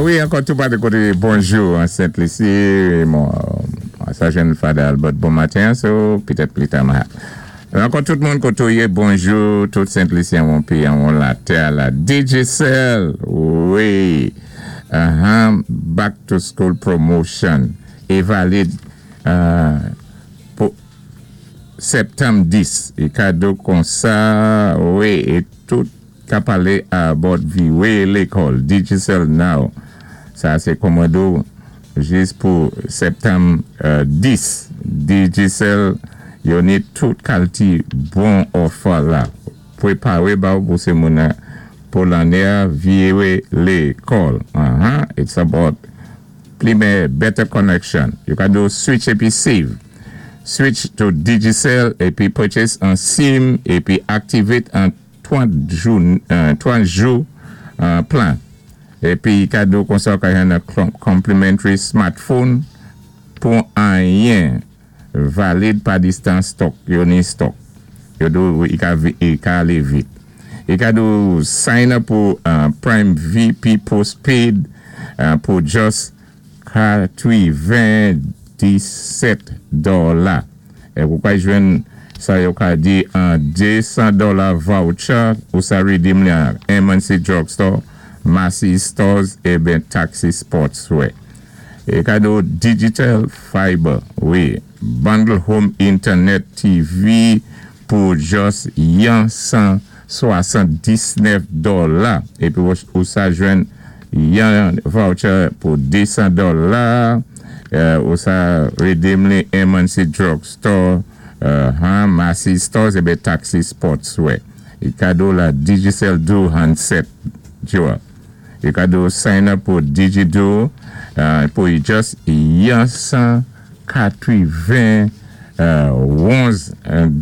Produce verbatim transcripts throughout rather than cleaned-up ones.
Wi, ankò tou pa de koté, bonjou an Sent-Lisi, bon, sa jenn Father Albert, bon maten, so, petèt pli ta ma. Ankò tout moun koté ou yé, bonjou, tout Sent-Lisyen, mon péyi, an latè, la Digicel, wi, uh-huh, back to school promotion, é valid, uh, pou septanm dis, é kado kon sa, wi, é tout ka palé about viwé lékòl, Digicel now, sa sé kòmando jis pou septanm euh, dis, Digicel, yo ni tout kalité bon òfa la, pwépawé ba ou pou sé moun pou lanné viwé lékòl. Uh-huh. It's about pli better connection. You can do switch épi save. Switch to Digicel épi purchase an SIM épi activate an trant jou, euh, trant jou uh, plan. Épi kado kon sa ka yon complimentary smartphone pou anyen valid pa distance stock, yo ni stock. Yo do i ka, i ka alé vit. I ka do sign up pou uh, Prime V P postpaid uh, pou just katwiven-disèt dola. É ou ka jwenn sa yo ka di an de san dola voucher ou sa redeem li an M and C Drugstore, Macy's Stores é ben Taxi Sportswear. É kado Digital Fiber, wi, bundle home internet T V pou just yon san swasanndisnèf dola. Épi ou sa jwenn yon voucher pou de san dola. Ou sa redeem li M and C Drugstore, uh, Macy's Stores é ben Taxi Sportswear. É kado la Digicel Duo handset dual. É kado sign up pou DigiDuo uh, pou just yon san katwiven onz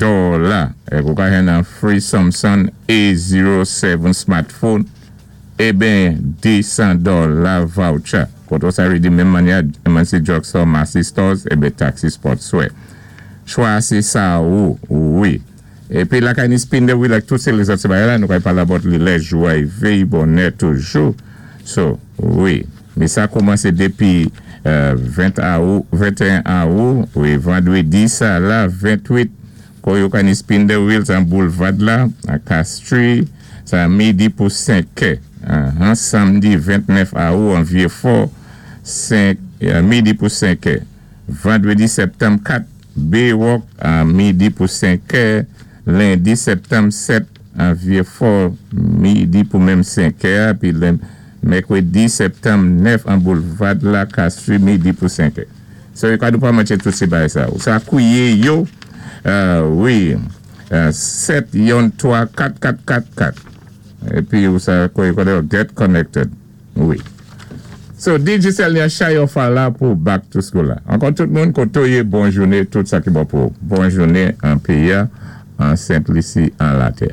dola. É ou ka jwenn an free Samsung A zéro sèt smartphone é ben de san dola voucher. Koto sa redeem menm mannyè M and C Drugstore, Macy's Stores é ben Taxi Sportswear. Chwa sé sa ou, wi. Épi la kay ni spin the wheel ak tout sé lézòt sé bagay la, nou kay pala about li lè jou a vey bonè toujou. So, wi. Mé sa kòmansé dépi ven awou, venteyen awou, wi, vandwédi sa la, ventwit, ko yo ka ni spin the wheels an boulevard la, a Castries, sa midi pou senk è. Samdi ventnèf awou an Vieux-Fort, midi pou senk è. Vandwédi septanm kat, Baywalk, a midi pou senk è. Lendi septanm sèt, an Vieux-Fort, midi pou menm senk è. Pi mèkwédi septanm nèf, an boulevard la, Castries, midi pou senk è. So, yo ka dou pa manché tout sé bagay sa. Ou sa kouwé yo, wi, sèt yon twa kat kat kat kat. Épi ou sa kouwé koné get connected. Wi. So, Digicel ni a chay òfa la pou back to school la. Ankò tout moun koto yé, bon jouné, tout sa ki bon pou. Bon jouné an péyi, an Sent-Lisi, an latè.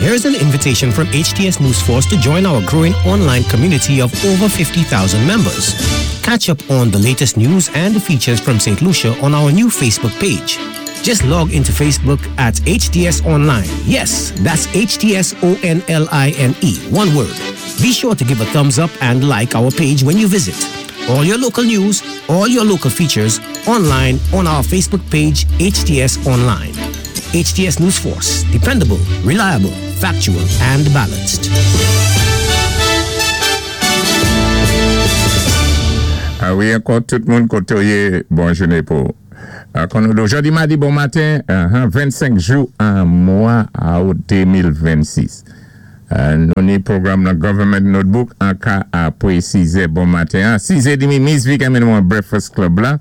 Here's an invitation from H T S News Force to join our growing online community of over fifty thousand members. Catch up on the latest news and features from Saint Lucia on our new Facebook page. Just log into Facebook at H T S Online. Yes, that's H T S O N L I N E, one word. Be sure to give a thumbs up and like our page when you visit. All your local news, all your local features online on our Facebook page, H T S Online. H T S News Force, dependable, reliable, factual, and balanced. A wi, ankò tout moun koto yé, bon jouné pou. Kon nou do jodi madi bon maten, vennsenk jou an mwa out de mil vennsis. Nou ni pwogram nan Government Notebook an ka apwé sizè bon maten. Sizè dimi, Miss Vic amèn nou an Breakfast Club la.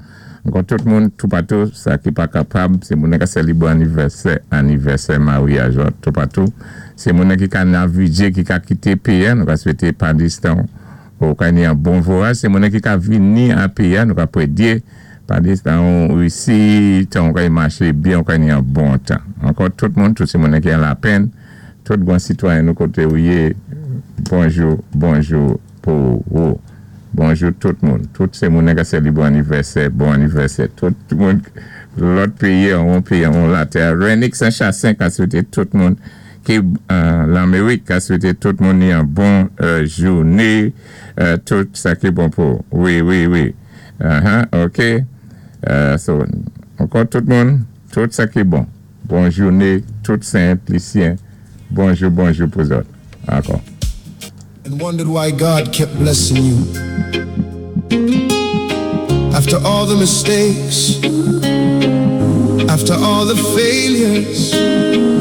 Ankò tout moun, toupatou, sa ki pa kapab, sé moun ka sélibwé anivèsè, anivèsè maryaj, toupatou. Sé moun ki ka navigé, ki ka kité péyi, nou ka swété pa distan ou ka ni an bon vwayaj. Sé moun ki ka vini an péyi, nou ka pwédyé pa distan ou isi, tan ou ka y maché byen, ou ka ni an bon tan. Ankò tout moun, tout sé moun ki an lapenn, tout bon sitwayen nou koté ou yé, bonjou, bonjou pou ou. Bonjou tout moun. Tout sé moun ka sélibwé anivèsè, bon anivèsè. Tout moun, lòt péyi, an péyi, an latè. Renix an Chassin ka swété tout moun Ki Laméwik ka swété tout moun yon bon jouné, tout sa ki bon pou. Wi, wi, wi. Uh-huh, OK. So, ankò tout moun, tout sa ki bon. Bon jouné, tout Sent Lisyen. Bonjou, bonjou pou zòt. Ankò. And wondered why God kept blessing you. After all the mistakes, after all the failures.